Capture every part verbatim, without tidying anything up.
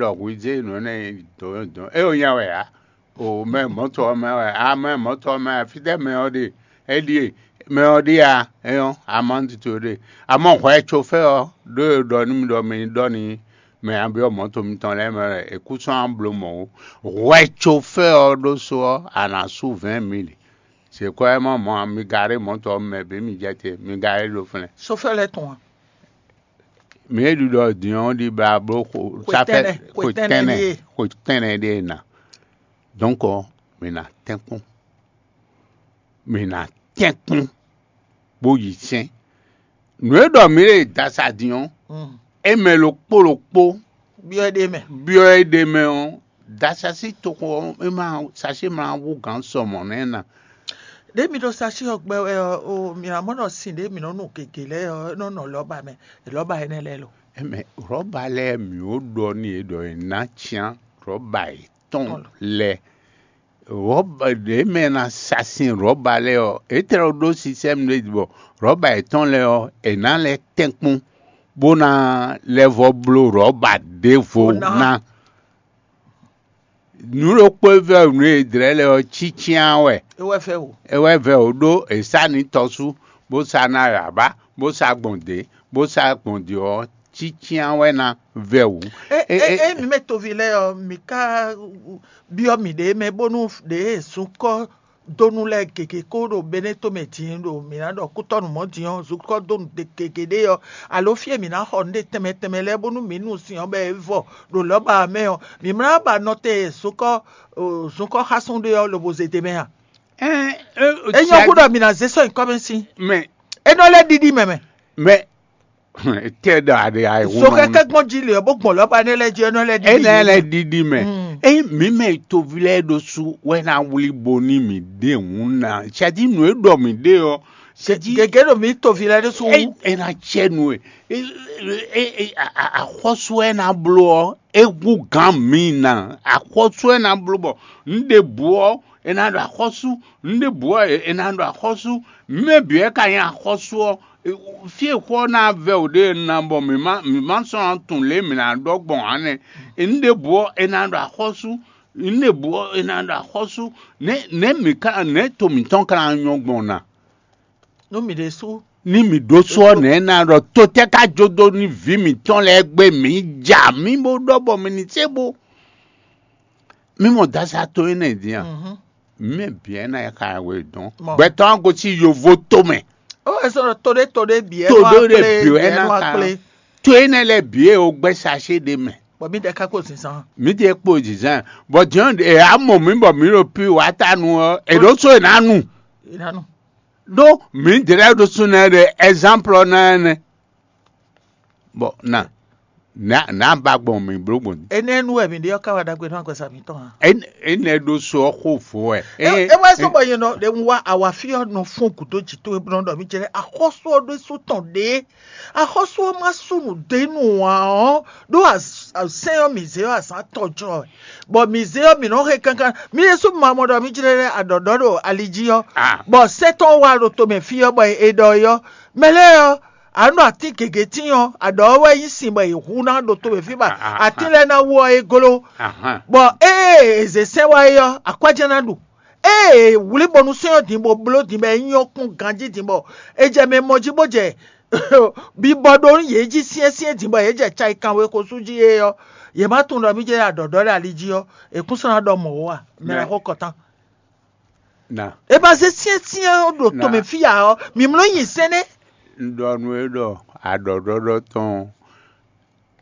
ɖɔ hwi zé nǔ énɛ́ dɔn dɔn é o nya wɛ ǎ. O mɛ mɔ̌tɔ ɔ́ mɛ wɛ a mɛ mɔ̌tɔ ɔ́ mɛ wɛ fítɛ́ mɛ ɔ́ ɖe? É ɖíe mɛ ɔ́ ɖíe a é ɔ́ amɔ́ntito ɖe. Amɔ hwɛ cofɛ́ ɔ́ ɖó e ɖɔ nú mi ɖɔ mi ní ɖɔ n'i mɛ abyɔ́ mɔ̌to mitɔn lɛ́ɛ mɛ wɛ è kú sɔ́ ná bló mɔ̌ ó. Hwɛ cofɛ́ ɔ́ ɖó só ɔ́, a nǎ sú vɛ̌ɛn mili. Sekɔ́ ɛ mɔ mɔ̌ ǎ, mi garé mɔ̌to ɔ́ mɛ bǐ mi jɛ te, mi garé ɖo flɛ́n. Sofɛ́ lɛ́ɛ tɔn a? Mǐ e ɖiɖɔ din ɔ́ ɖi bla bló xo Xwe sáfɛ tɛnɛ, xwe xwe tɛnɛ tɛnɛ ɖíe. Xwe tɛnɛ ɖíe ná. Dɔ̌nkɔ, mǐ ná tɛ́nkpɔ́n, mǐ ná tɛ́nkpɔ́n bó yi sɛ́n. Nǔ e ɖɔ mǐ ɖe dasa din ɔ́, Mm. é mɛ ɖokpó ɖokpó Byɔ́ é ɖe mɛ. Byɔ́ é ɖe mɛ ɔ́, dasasí toxo ɔ́, é ma sasí ma wú gǎn sɔ mɔ̌ nɛ́ ná. Ɖěe mi ɖo sasí ɔ́ gbɛ wɛ ɔ́, o mǐ ná mɔ ɖɔ sin ɖěe mǐ nɔ nu gěgé lɛ́ɛ ɔ́, é nɔ nɔ lɔ̌ba mɛ, lɔ̌ba énɛ́ lɛ́ɛ lo. Ɛmɛ, rɔ̌ba lɛ́ɛ mǐ ó ɖɔ n'i é ɖɔ è nǎ cyán rɔ̌ba yětɔn Tɔn lo. Lɛ́ɛ. Rɔ̌ba ɖě mɛ ná sa sin rɔ̌ba lɛ́ɛ ɔ́, é tlɛ ɖó sisɛ́mu ɖé bɔ rɔ̌ba yětɔn lɛ́ɛ ɔ́, è nǎ lɛ́ tɛ́nkpɔ́n bó ná lɛ́ vɔ́ bló rɔ̌ba ɖěvo Ó ná. Ná. Nǔ ɖokpó e vɛ́ nǔ e è dlɛ̌ lɛ́ɛ ɔ́ cícyán wɛ. É wɛ fɛ o. É wɛ vɛ wǒ ɖó è sá nǐ tɔsú, bó sá ná yǎbá, bó sá gbɔn dě, bó sá gbɔn dě ɔ́, cícyán wɛ ná vɛ wǔ. É É- é- é- é mi mɛ toví lɛ́ɛ ɔ́, mi ka byɔ́ mǐɖée mɛ bónú ɖěe zunkɔ́ dónú lɛ́ɛ gěgé kó ɖo Benɛ́to mɛ din ɖo mǐ ná ɖɔ kútɔ́nú mɔ̌ din ɔ́, zunkɔ́ dónú gěgé ɖé ɔ́, alo fí e mǐ ná xɔ nǔɖé tɛnmɛ tɛnmɛ lɛ́ɛ bónú mǐ nu sin ɔ́ bɔ é vɔ ɖo lɔ̌ba ɔ́ mɛ ɔ́, mǐ mlá ba nɔ te zunkɔ́ zunkɔ́ xásún ɖé ɔ́ lobo zé te mɛ a? Ɛn, é- É nyɔ́ hú ɖɔ mǐ ná zé sɔ́ nyǐkɔ mɛ sín. Mɛ É nɔ lɛ́ ɖiɖi mɛ mɛ. Mɛ tɛ ɖɔ aɖe ayi So kɛkɛ gbɔn jí le ɔ́, bó gbɔn lɔba nɛ lɛ jí ɔ́ nɔ lɛ ɖi. Enɛ lɛ ɖiɖi mɛ. Mm. Eyi mǐ mɛ toví lɛ́ɛ ɖó sú wɛ ná wlí bo ní mǐ ɖe hǔn ná. Sɛdí nǔ e ɖɔ mǐ ɖe ɔ́, sɛdí Gègé ɖo mí toví lɛ́ɛ ɖó sú. Eyi e ná cɛ nu e. E- e- e- a- a- Axɔ́sú e ná bló ɔ́, é hú gǎn mǐ ná. Axɔ́sú e ná bló bɔ un ɖe bǔ ɔ́, è nǎ ɖo axɔ́sú. Nǔɖěbǔ ɔ́, è nǎ ɖo axɔ́sú. Mɛ bǐ wɛ ka nyí axɔ́sú ɔ́. Fí e xó ɔ́ ná vɛ́ wǔ ɖe ná bɔ mǐ má mǐ má sɔ́ ná tunwun lě e mǐ ná ɖɔ gbɔn ǎ nɛ́. Nǔɖěbǔ ɔ́, è nǎ ɖo axɔ́sú. Nǔɖěbǔ ɔ́, è nǎ ɖo axɔ́sú. Nɛ̌ nɛ̌ mǐ ka nɛ̌ to mǐtɔn ka ná nyɔ́ gbɔn ná? Nú mǐ ɖésú. Ní mǐ ɖó sú ɔ́, nɛ̌ ná ɖɔ to tɛ́ ka jó dó ní vǐ mǐtɔn lɛ́ɛ gbé mǐ ja mǐ bó ɖɔ bɔ mǐ ní sé bo? Mí mɔ dasa to énɛ́ din a? Mhm. Mɛ bǐ ɛ ná ka we dɔn. Mɔ. Gbɛtɔ́ ɔ́ gosín yovo tomɛ. Ó wɛ sɔ́ ɖɔ to ɖé to ɖé bǐ ɛ To nɔ ɖé ɖé akplé, bǐ ɛ bǐ ɛ ná nɔ ka akplé. To énɛ́ lɛ́ɛ bǐ e o gbɛ́ sacé ɖé mɛ. Bɔ mí ɖɛ ká kpo zǐnzán. Mí ɖe kpo zǐnzán. Bɔ jɛ́n ɛ á mɔ mǐ bɔ mǐ ɖo pi wǎ ta nu ɔ́, è ɖǒ so è nǎ nu. È nǎ nu. Ɖó mǐ ɖě lɛ́ɛ ɖo súnnu ɖe ɛzánplɔ ná ɛnɛ. Bɔ na nǎ nǎ ba gbɔn mǐ bló gbɔn. Énɛ́ nu wɛ mǐ ɖe ɔ́ ká wa ɖagbe nú agbɛsa mǐtɔn a? Énɛ́ ɖó so ɔ́ xó vo wɛ. É wá sɔ́ bɔ nyɛ nɔ ɖe un wá awafí ɔ́ nɔ fún gǔdo jǐ towe bó nɔ ɖɔ mí jɛ axɔ́sú ɔ́ ɖésú tɔn ɖě. Axɔ́sú ɔ́ má sú nǔ dó nú ǎ ɔ́, ɖó sɛ́n ɔ́ mǐ zé ɔ́ azǎn tɔjɔ wɛ. Bɔ mǐ zé ɔ́ mǐ nɔ xe kankan. Mí ɖésú ma mɔ ɖɔ mí jlɛ́ lɛ́ aɖɔ̌ɖɔ́ ɖo ali jí ɔ́, Bɔ sɛ́ tɔn wá ɖo tomɛ fí ɔ́, bɔ è ɖɔ é ɔ́, mɛ lɛ́ɛ ɔ́, a nɔ atín gěgé tín ɔ́, aɖɔ̌ ɔ́ wɛ nyí sin bɔ è hu ná ɖo tomɛ fí ba atín lɛ́ɛ ná wú ɔ́ é gló. Bɔ ée è zě sɛ́n wá é ɔ́, akwájɛ ná ɖu. Ée è wlí bɔ nú sɛ́n ɔ́ din bó bló din bɔ é nyɔ́ kpɔ́n ganjí din bɔ è jɛ mɛ mɔ jí bó jɛ bibɔ ɖó yě jí syɛ́nsyɛ́n din bɔ yě jɛ cayikan we xosú jí é ɔ́, yě má tunwun ɖɔ mí jɛ aɖɔ̌ɖɔ́ ɖo ali jí ɔ́, è kún sɔ́ ná ɖɔ mɔ̌ ó a? Mɛ ná xo kɔtán. Na É ma zé syɛ́nsyɛ́n ɔ́ ɖo tomɛ fí ǎ ɔ́, mǐ mlɔ́ nyi sɛ́n nɛ́. Un ɖɔ nú é ɖɔ aɖɔ̌ɖɔ́ɖɔ tɔn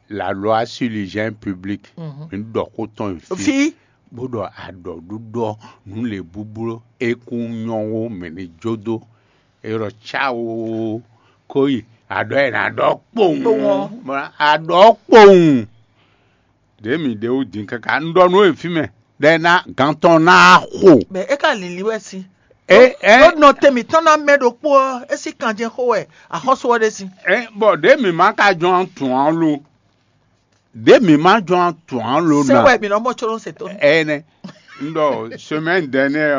la loi sur l'hygiène publique. Mhm. Un ɖɔ xó tɔn yi fí Fí. Bó ɖɔ aɖɔ̌ɖúɖɔ nǔ lě búbló é kún nyɔ́ wó mɛ ní jó dó. É ɖɔ cáwo kó yi aɖɔ̌ e ná ɖɔ kpowun. Kpowun. Aɖɔ̌ kpowun. Ɖě mǐ ɖe wú din káká un ɖɔ nú we fí mɛ ɖɔ é ná gǎn tɔn ná xo. Bɛ é ka lǐlí wɛ sín. É é Ɖó nɔ te mǐtɔn ná mɛ ɖokpó ɔ́, é sí kanjɛ xó wɛ axɔ́sú ɔ́ ɖe sín. É bɔ ɖě mǐ ma ka jɔn tun ǎ lo. Ɖě mǐ ma jɔn tun ǎ lo Sɛ ná. Wɛ mǐ nɔ mɔ tsɔ́ se tó. Ɛnɛ. Un ɖɔ semaine dernière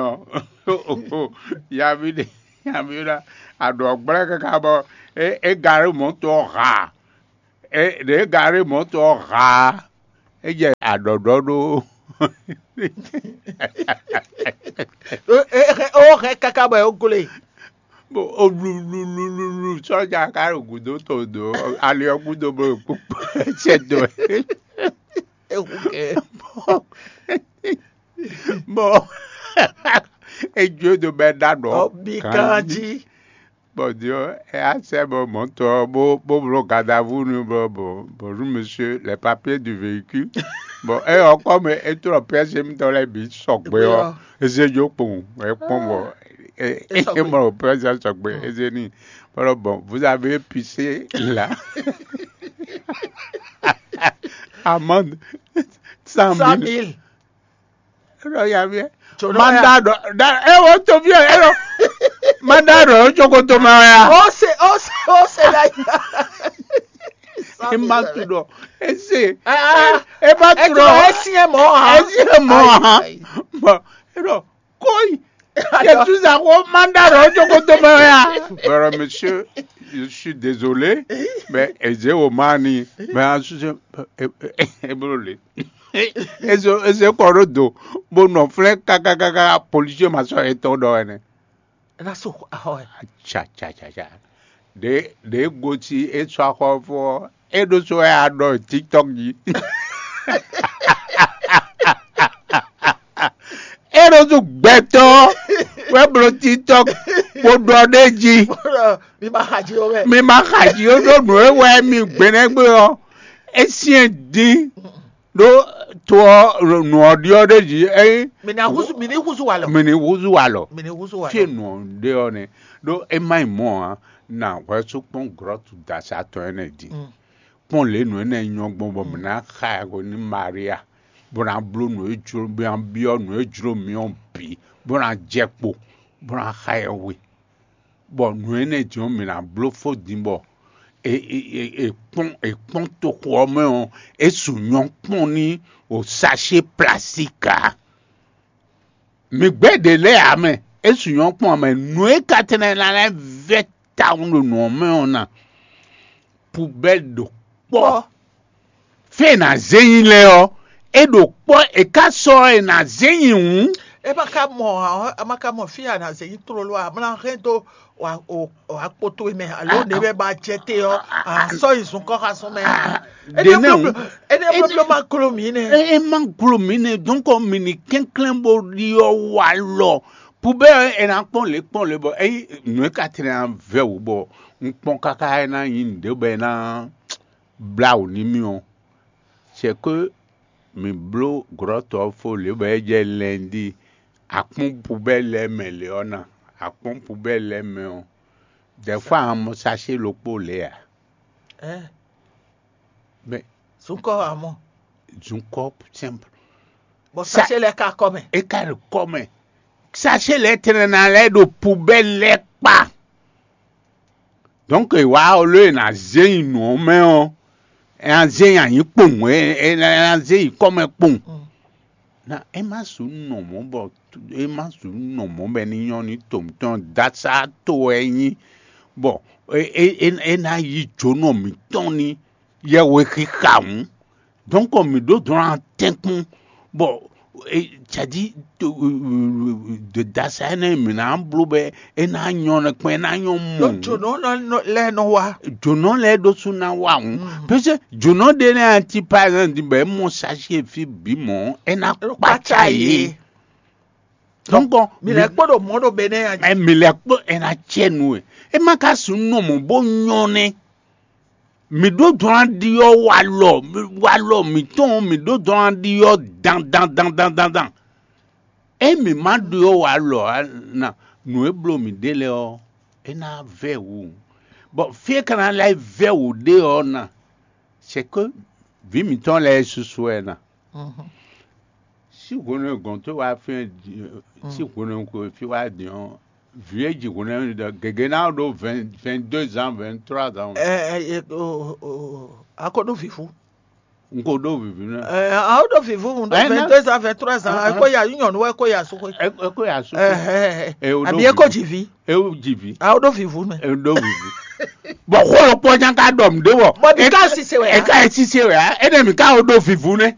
ɔ́. Yavi ɖe yavi ɖa aɖɔ gblɛ káká bɔ é é gari mɔtɔ ha. É ɖě gari mɔtɔ ha. É jɛ aɖɔ̌ɖɔ́ ɖó. Ó hɛn káká bɔ é glé. Bó ó lululululu sɔ́ja ka ɖo gǔdo to dó ali ɔ́ gúdo bó ɖo kpókpó. Sɛ dó. Ewu kɛ. Bɔn é jó do bɛ ɖa ɖɔ. Ɔbi kan jí. Bon, Dieu, et à ces moments, bon, bon, bon, garde à vous, nous, bon, bon, bonjour, monsieur, les papiers du véhicule. Bon, et encore, mais et tout le pièce, je me donne les bits, choc, bon, et c'est du pont, et pont, bon, et et mon pièce, choc, bon, et c'est ni. Voilà, bon, vous avez pissé là. Amende cent Cent mille. mille. Ero ya vie. Tso ɖɔ Manda ya. Ɖɔ da ewo to vie ero. Manda ɖɔ o tsokoto ma ya. Ó se ó se ó se la. E ma tu ɖɔ. Ese. Ah, E ma tu Ẹ ti ɖɔ. ẹ sí ẹ mọ́ ha. Ese mɔ ha. Bon, ero koi. Yesu sa ko manda ɖɔ o tsokoto ma ya. Bro, monsieur, je suis désolé, mais eze o ma ni, mais en ce e bro le. Eze eze kɔ ɖo do, bo nɔ flɛ kakakaka policier ma sɔ etɔn ɖɔ ɛnɛ. Ena so ahɔ ɛ. Tsa tsa tsa tsa. Ɖe ɖe goti e sɔ axɔ fɔ e ɖo so ya ɖɔ TikTok ji. E ɖo so gbɛtɔ wɛ blo TikTok bo ɖɔ ɖe ji. Mi ma xa jí o mɛ. Mi ma xa ji o ɖo nǔ e wɛ mi gbɛnɛgbɛ ɔ. E syɛn din ɖo to ɔ nǔ ɔ ɖiɔ ɖe ji. Eyi Mi ni huzu mi ni huzu wa lɔ. mi ni huzu alɔ. Mi ni huzu wa Fie lɔ. nɔ ɖe ɔ nɛ ɖo e ma yi mɔ a na hwɛsu kpɔn grɔtu dasa tɔn ɛnɛ di. Kpɔn le nɔ ɛnɛ nyɔ gbɔn bɔ mɛ na xa ɛgo ni Maria bɔ na blo nɔ e jlo bɔ na biɔ nɔ e jlo miɔ bi bɔ na jɛ kpo bɔ na xa ɛwe. Bɔ nɔ ɛnɛ jɔ mɛ na blo fo din bɔ e e e e kpɔn e kpɔn toxo ɔ mɛ ɔ e su nyɔ kpɔn ni o sachet plastique a. Mi gbɛ́ ɖě lɛ́ɛ ǎ mɛ, é su nyɔ̌ kpɔ́n ǎ mɛ. Nǔ e ka tɛnɛ ná lɛ́ vɛ́ tawun ɖo nǔ ɔ́ mɛ ɔ́ ná, pubɛ́li ɖo kpɔ́. Fí e è nǎ zé nyi lɛ́ɛ ɔ́, é ɖo kpɔ́, è ka sɔ́ è nǎ zé nyi hǔn. E ma ka mɔ ɔ, a ma ka mɔ fí a nǎ zé nyi tlóló a, a ma ná hɛn dó wa o o akpo towe mɛ alo ɖě wɛ ba jɛ te ɔ, a sɔ yi zun kɔ xasun mɛ. Ɖě nɛ hǔn. Ene blóbló ma klo mǐ nɛ. E e ma glo mǐ nɛ, donc mi ni kɛnklɛ́n bó ɖiɔ wa lɔ. Pubɛ́ ɔ́, è nǎ kpɔ́n lě kpɔ́n lě bɔ eyi nǔ e ka tlɛ ná vɛ́ wǔ bɔ un kpɔ́n káká é ná nyí nǔɖé bɔ é ná blá wǔ n'i mì ɔ́, c'est que mi bló grɔ́tɔ ɔ́ fó lě bɔ é jɛ lɛndí akpɔ́n pubɛ́ lɛ́ɛ mɛ lě ɔ́ ná. Akpɔ́n pubɛ́ lɛ́ɛ mɛ ɔ́, des fois un mɔ sachet ɖokpó lě ǎ. Ɛ Mais zunkɔ amɔ zunkɔ simple. bɔ Sa- sachet lɛ ka kɔ mɛ. E ka ɖo kɔ mɛ. Sachet lɛ́ɛ tɛnɛ ná lɛ́ ɖo pubɛ́ lɛ́ɛ kpa. Donc e wá ɔ ló e ná zé nyi nǔ ɔ́ mɛ ɔ́, e ná zé nyi anyi kpowun, e e ná e ná zé nyi kɔ́mɛ kpowun. Na e má su nɔ mɔ̌ bɔ e má su nɔ mɔ̌ bɛ ní nyɔ́ ní to mǐtɔn dasa to wɛ é nyí, bɔ e e e e ná yí jǒnɔ mǐtɔn ní yɛhwexixa hǔn. Donc mǐ ɖó dɔn atɛ́nkún bɔ e cadi de dasa énɛ́ mǐ ná bló bɛ é ná nyɔ́ nɛkpɛ́n é ná nyɔ́ mɔ. Lɔ jǒnɔ nɔ- nɔ- lɛ nɔ wa. Jǒnɔ lɛ́ɛ ɖó sú ná wa hǔn. Parce que jǒnɔ ɖé lɛ́ɛ ati par exemple bɛ é mɔ sachet fí bǐ mɔ̌ é ná Lɔ kpácá yé. Donc Mi lɛ kpɔ́ ɖo mɔ̌ ɖo bɛ nɛ ya. Ɛ mi lɛ kpɔ́ ɛ ná cɛ nu ɛ. E ma ka su nɔ mɔ bó nyɔ́ nɛ. Mi ɖó dɔn aɖi ɔ́ wa lɔ wa lɔ mǐtɔn mi ɖó dɔn aɖi ɔ́ dan dan dan dan dan dan. E mi ma ɖi ɔ́ wa lɔ na nǔ e bló mi ɖe lɛ ɔ́, é ná vɛ wǔ. Bɔ fí e ka ná lɛ́ vɛ wǔ ɖe ɔ́ ná, c'est que vǐ mǐtɔn lɛ́ɛ susu wɛ ná. Sí hwenu e gɔ̌n towe wá fɛ́n sín hwenu e ko fí wá din ɔ́, vǐ e ji hwenu e ɖɔ gěgé ná ɖó vingt deux ans, vingt trois ans. Ɛ ɛ o o a ko ɖo vivu. N ko ɖó vǐví nɛ. Ɛ a ko ɖo vivu un ɖo Ɛ, na- vingt deux ans, vingt trois ans. Ah, Ɛ ko ya nyɔnu ɛ ko ya suxwe. Ɛ ɛ ko ya su. Ɛhɛ. Ɛ o ɖó Àbí ɛ ko vivi. Ji vi. E o ji vi. A ko ɖo vivu mɛ. E o ɖó vivi. Bɔ xó ɖokpó ɔ́ nya ka ɖɔ mǐ ɖé bɔ Bɔ mǐ ka sise wɛ ǎ. Eka e sise wɛ ǎ. Énɛ́ mǐ ka wo ɖó vivu nɛ́.